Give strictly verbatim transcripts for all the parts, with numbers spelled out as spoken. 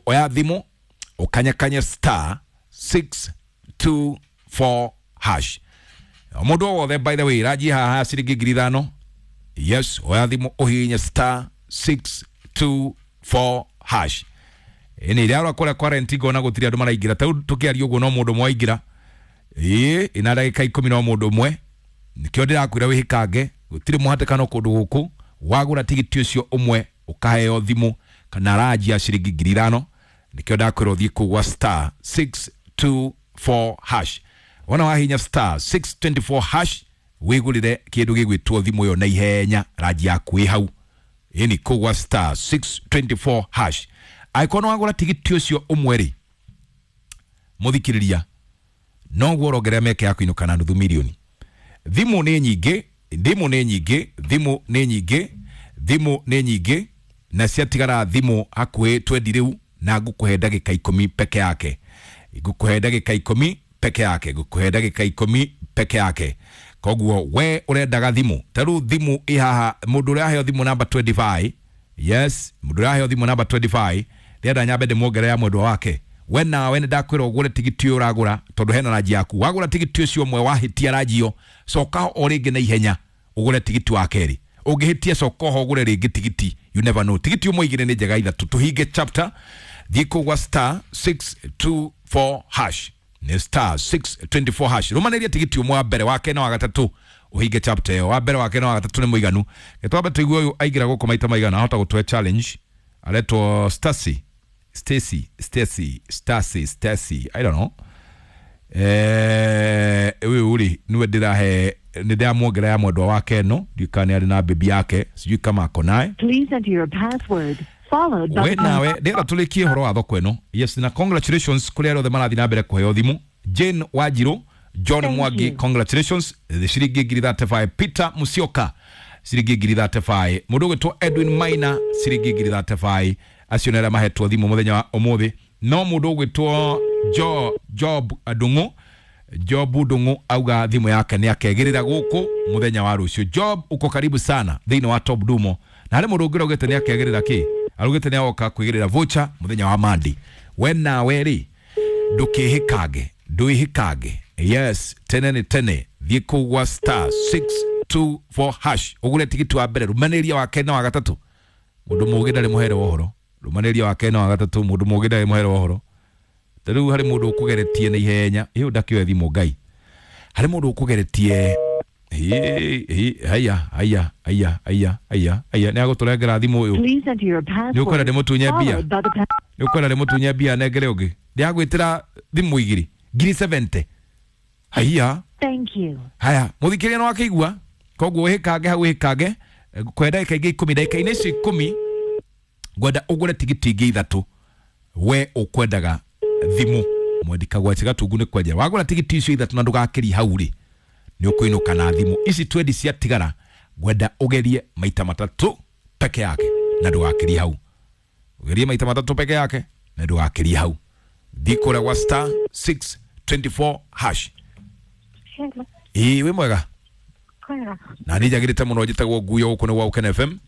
Oya thimu ukanyakanye star six two four hash. Mundu wothe, by the way, raji haha ciringi ngiri ithano. Yes, oya thimu uhihinye star six two four hash. Ĩni rĩarora kũrĩa kwa renti ngona gũtirĩ andũ maraingĩra ta rĩu tũkĩaria ũguo no mũndũ ũmwe waingĩra. Ĩĩ, ĩna ndagĩka ikũmi no mũndũ ũmwe, nĩkĩo ndĩrakwĩra wĩhĩkange, gũtirĩ mũhatĩkano kũndũ gũkũ. Wagũra tigiti ũcio ũmwe ũkaheo thimũ kana ranji ya ciringi ngiri ithano. Nĩkĩo ndakwĩra ũthiĩ kũu gwa star six two four hash. Wona wahinya star six twenty four hash wĩgũrĩre kĩndũ gĩgwĩtwo thimũ ĩyo na ihenya, ranji yaku ĩ hau. Ĩni kũu gwa star six twenty four hash. Angĩkorwo nĩ wagũra tigiti ũcio ũmwe rĩ, mũthikĩrĩria, noguo ũrongerera mĩeke ya kũinũka na nuthu mirioni. Thimũ nĩ nyingĩ, thimũ nĩ nyingĩ, thimũ nĩ nyingĩ, thimũ nĩ nyingĩ, na ciatigara thimũ hakuhĩ twendi rĩu, na ngũkũhe ndagĩka ikũmi peke yake. Ngũkũhe ndagĩka ikũmi peke yake, ngũkũhe ndagĩka ikũmi peke yake. Koguo we ũrendaga thimũ, ta rĩu thimũ ĩ haha, mũndũ ũrĩa aheo thimũ namba twenty five, yes, mũndũ ũrĩa aheo thimũ namba twenty five, ndĩrenda nyambe ndĩmuongerere ya mwendwa wake. We nawe nĩ ndakwĩra ũgũre tigiti ũyũ ũragũra, tondũ hena ranji yaku. Wagũra tigiti ũcio ũmwe wahĩtia ranji ĩyo, coka o rĩngĩ na ihenya ũgũre tigiti wa kerĩ. Ũngĩhĩtia coka oho ũgũre rĩngĩ tigiti, you never know. Tigiti ũmwe igĩrĩ nĩ njega ithatũ. Tũhinge chapter, thiĩ kũu gwa star six two four hash. Nĩ star six twenty four hash. Rũmanĩria tigiti ũmwe wa mbere, wa kerĩ na wa gatatũ, ũhinge chapter ĩyo. Wa mbere, wa kerĩ na wa gatatũ nĩ mũiganu. Reke twambe tũigue ũyũ aingĩra gũkũ maita maigana, ahota gũtũhe challenge. Aretwo Stacy, Stacy, Stacy, Stacy, Stacy, I don't know. Eh, ũyũ rĩ nĩwe ndĩrahe, nĩ ndĩramuongerera ya mwendwa wake ĩno, ndiũĩ kana nĩ arĩ na baby yake, sijui kama ako naye. Please enter your password followed by We nawe ndĩrenda tũrĩkie ũhoro wa thoko ĩno. Yes, na congratulations kũrĩ arĩa othe marathiĩ na mbere kũheo thimũ. Jane Wanjiru, John Thank Mwangi, you. congratulations, ciringi ngiri thirty five. Peter Musyoka, ciringi ngiri thirty five. Mũndũ ũgwĩtwo Edwin Maina, ciringi ngiri thirty five. Acio nĩ arĩa mahetwo thimũ mũthenya wa ũmũthĩ. No mũndũ ũgwĩtwo Jo, Job Ndung'u, Job Ndung'u auga thimũ yake nĩ akegĩrĩra gũkũ mũthenya wa rũciũ. Job, uko karibu sana thĩinĩ wa Top Dumo. Na harĩ mũndũ ũngĩ ũraugĩte nĩ akegĩrĩra kĩ? Araugĩte nĩ agoka kwĩgĩrĩra voucher mũthenya wa Monday. We nawe rĩ, ndũkĩhĩkange, ndwĩhĩkange. Yes, tene nĩ tene. Thiĩ kũu gwa star six two four hash ũgũre tigiti wa mbere, rũmanĩria wa kerĩ na wa gatatũ. Mũndũ mũũgĩ ndarĩ mũhere wa ũhoro. Rũmanĩria wa kerĩ na wa gatatũ, mũndũ mũũgĩ ndarĩ mũhere wa ũhoro. Ta rĩu harĩ mũndũ ũkũgeretie na ihenya, ĩyo ndakĩoe thimũ Ngai. Harĩ mũndũ ũkũgeretie, hĩ, hĩ, haya, haya, haya, haya, haya, haya, nĩ agũtũrengera thimũ ũyũ. Please enter your Nĩ ũkwenda password ndĩmũtunye mbia? followed by the pa- Nĩ ũkwenda ndĩmũtunye mbia nengere ũngĩ? Ndĩragwĩtĩra thimũ igĩrĩ, ngiri seventy. Haiya. Thank you. Haya, mũthikĩrĩria nĩ wakĩigua? Koguo wĩhĩkange hau, wĩhĩkange. Ngũkũhe ndagĩka ingĩ ikũmi, ndagĩka-inĩ icio ikũmi ngwenda ũgũre tigiti ingĩ ithatũ. We ũkwendaga thimũ, mwendi kagwaci gatungu nĩ kwenjera. Wagũra tigiti icio ithatũ na ndũgakĩrie hau rĩ, nĩ ũkũinũka na thimũ. Ici twendi ciatigara, ngwenda ũgerie maita matatũ peke yake na ndũgakĩrie hau. Ũgerie maita matatũ peke yake na ndũgakĩrie hau. Thiĩ kũrĩa gwa star six twenty four hash. Hello. Ĩĩ, wĩ mwega? Kwega. Na niĩ njagĩrĩte mũno, njĩtagwo Nguyo, gũkũ nĩ gwa Ũkene F M.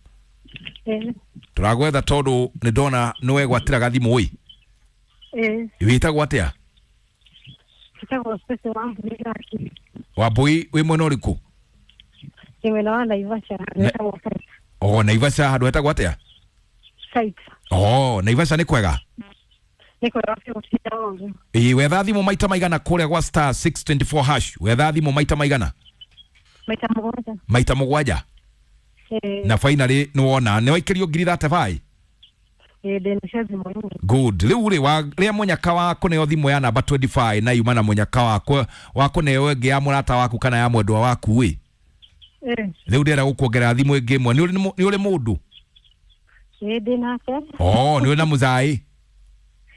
Eh, Tũragwetha tondũ nĩ ndona nĩ wegwatĩra gathimũ ĩ. eh, Wĩtagwo atĩa? Njĩtagwo Stacy Wambui Gaki. Wambui, wĩ mwena ũrĩkũ? Ndĩ mwena wa Naivasha, Na- hetagwo Site. O, Naivasha handũ hetagwo atĩa? Site. O, Naivasha nĩ kwega? Nĩ kwega biũ gũtinda ũru. Ĩĩ, wetha thimũ maita maigana kũrĩa gwa star six twenty four hash? Wetha thimũ maita maigana? Maita mũgwanja. Maita mũgwanja? Eh, Na finally nĩ wona, nĩ waikĩrio ngiri thirty five? eh, ndĩnacio thimũ-inĩ. Good. Rĩu rĩ, wa rĩa mũnyaka wa kũneo thimũ ya namba twenty five na yuma na mũnyaka wa wa kũneo ĩngĩ ya mũrata waku kana ya mwendwa waku ĩ. Eh, Rĩu ndĩrenda gũkuongerera thimũ ĩngĩ ĩmwe. Nĩ ũrĩ nĩ ũrĩ mũndũ? eh, ndĩnake. Oh, nĩ ũrĩ na mũzaĩ?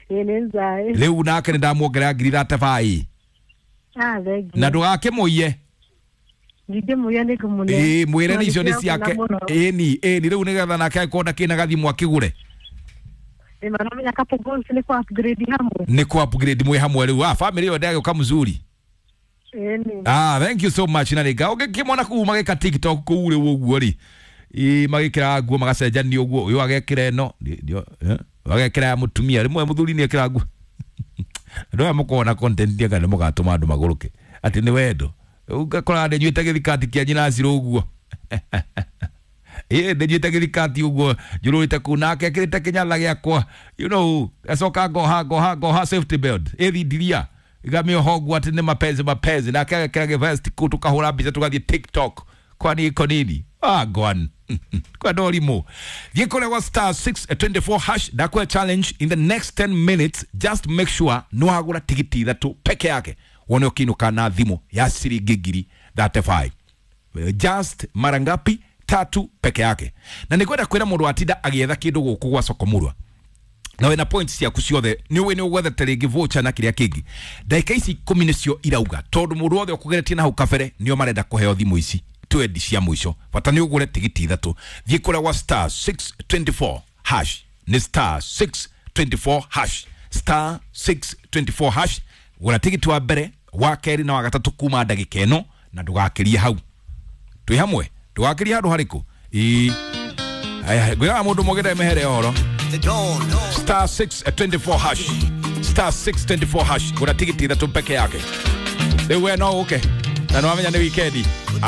Eh, nĩ nzaĩ. Rĩu nake nĩ ndamuongerera ngiri thirty five. Ah, thengiũ. Na ndũgakĩmũiye. Ndingĩmũiya nĩ ngũmũne. Ĩĩ, mwĩre nĩ icio nĩ Nĩndĩrakena ciake. mũno. Ĩni, ĩni rĩu nĩgetha nake angĩkorwo ndakĩrĩ na gathimũ akĩgũre. Ĩ, maramenya couple goals nĩ kũ upgrade hamwe. Nĩ kũ upgrade mwĩ hamwe rĩu. Ah, family ĩyo ndĩragĩũka mzuri. Ĩni. Ah, thank you so much na rĩnga. Ũngĩkĩmona kũu magĩka TikTok kũu rĩu ũguo rĩ. Ĩ, magĩkĩra nguo magacenjania ũguo, ũyũ agekĩra ĩno. Ndio, eh, Wagekĩra ya mũtumia rĩmwe mũthuri nĩ ekĩra nguo. Andũ aya mũkoragwo na content anga nĩ mũgatũma andũ magũrũke atĩ nĩ wendo. Ũgakora ndĩnyuĩte gĩthikati kĩa nyina Cirũ ũguo. Ĩ ndĩnyuĩte gĩthikati ũguo njũrũrĩte kũu nake ekĩrĩte kĩnyatha gĩakwa, you know, acoka ngoha ngoha ngoha safety belt ĩthindiria igamĩoha ũguo atĩ nĩ mapenzi mapenzi, nake agekĩra gĩvest kũu tũkahũra mbica tũgathiĩ TikTok. Kwani iko nini? Ah, gone kwenda ũrimũ. Thiĩ kũrĩa gwa star six twenty four hash. Ndakũhe challenge in the next ten minutes, just make sure nĩ wagũra tigiti ithatũ peke yake wone ũkĩinũka na thimũ ya ciringi ngiri thirty five. Just mara ngapi? Tatu peke yake. Na nĩngwenda kwĩra mũndũ watinda agĩetha kĩndũ gũkũ gwa Sokomurwa na wĩna points ciaku ciothe nĩ ũĩ nĩ ũgwethete rĩngĩ voucher na kĩrĩa kĩngĩ, ndagĩka ici ikũmi nĩcio irauga tondũ mũndũ wothe ũkũgeretie na hau kabere nĩo marenda kũheo thimũ ici twendi cia mũico. Bata nĩ ũgũre tigiti ithatũ. Thiĩ kũrĩa gwa star six twenty four hash, nĩ star six twenty four hash, star six twenty four hash. Gũra tigiti wa mbere, wa kerĩ na wa gatatũ kuma ndagĩka ĩno na ndũgakĩrie hau. Twĩ hamwe, ndũgakĩrie handũ harĩkũ? Ĩĩ. Aya, ngwĩraga mũndũ mũgĩre mehere ũhoro. Star six twenty four hash, star six twenty four hash, gũra tigiti ithatũ peke yake. Rĩu we no ũke na nĩwamenya nĩ wikendi.